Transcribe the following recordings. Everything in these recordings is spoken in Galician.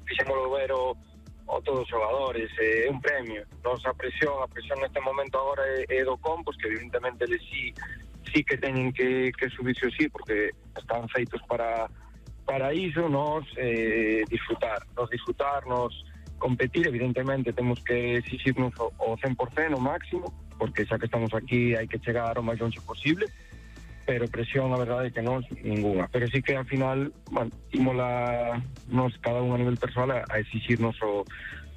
fixémolo ver o todos os xogadores, é un premio. A presión neste momento agora é do Compos, que evidentemente eles sí que teñen que subirse o sí, porque están feitos para iso, nos disfrutar, nos competir. Evidentemente temos que exigirnos o 100% o máximo, porque xa que estamos aquí hai que chegar o máis longe posible, pero presión, a verdade é que non, ninguna. Pero sí que ao final, bueno, nos cada un a nivel persoal a exigirnos o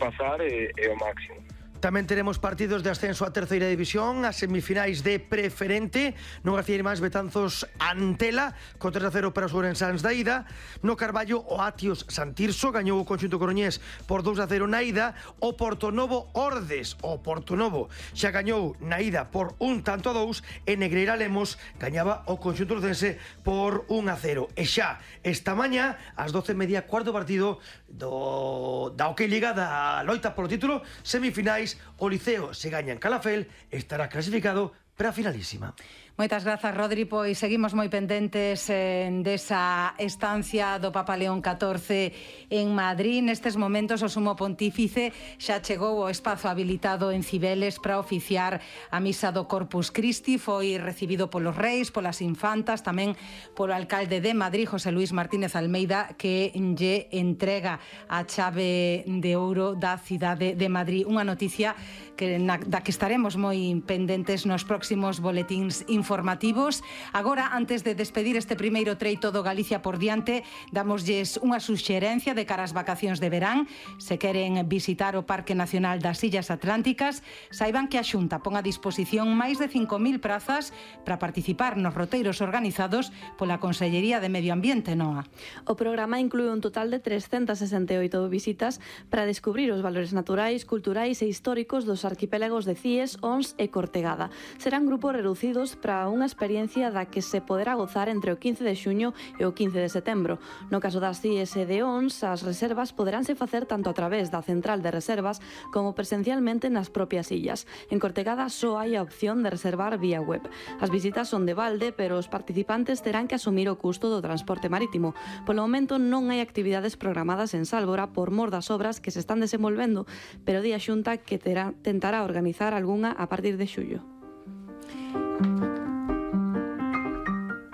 pasar e o máximo. Tamén teremos partidos de ascenso a terceira división, as semifinais de preferente, no García Irmáns Betanzos Antela, con 3-0 para os ourensáns da ida. No Carballo, o Atios Santirso gañou o conxunto coruñés por 2-0 na ida. O Portonovo Ordes, o Portonovo xa gañou na ida por 1-2, e Negreira Lemos gañaba o conxunto lucense por 1-0. E xa esta mañá, ás 12:30, cuarto partido da OK Liga, da loita polo título, semifinais. O Liceo, se gaña en Calafel, estará clasificado para a finalísima. Moitas grazas, Rodri, pois seguimos moi pendentes desa estancia do Papa León XIV en Madrid. Nestes momentos o Sumo Pontífice xa chegou ao espazo habilitado en Cibeles para oficiar a misa do Corpus Christi. Foi recibido polos reis, polas infantas, tamén polo alcalde de Madrid, José Luis Martínez Almeida, que lle entrega a chave de ouro da cidade de Madrid. Unha noticia da que estaremos moi pendentes nos próximos boletíns informativos. Agora, antes de despedir este primeiro treito do Galicia por diante, damoslles unha suxerencia de cara ás vacacións de verán. Se queren visitar o Parque Nacional das Illas Atlánticas, saiban que a Xunta pon a disposición máis de 5.000 prazas para participar nos roteiros organizados pola Consellería de Medio Ambiente, NOA. O programa inclúe un total de 368 visitas para descubrir os valores naturais, culturais e históricos dos arquipélagos de Cíes, Ons e Cortegada. Serán grupos reducidos para unha experiencia da que se poderá gozar entre o 15 de xuño e o 15 de setembro. No caso das Cíes e de Ons, as reservas poderánse facer tanto a través da central de reservas como presencialmente nas propias illas. En Cortegada só hai a opción de reservar vía web. As visitas son de balde, pero os participantes terán que asumir o custo do transporte marítimo. Polo momento non hai actividades programadas en Sálvora por mor das obras que se están desenvolvendo, pero di a Xunta que tentará organizar algunha a partir de xullo.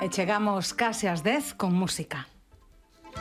E chegamos case ás 10 con música.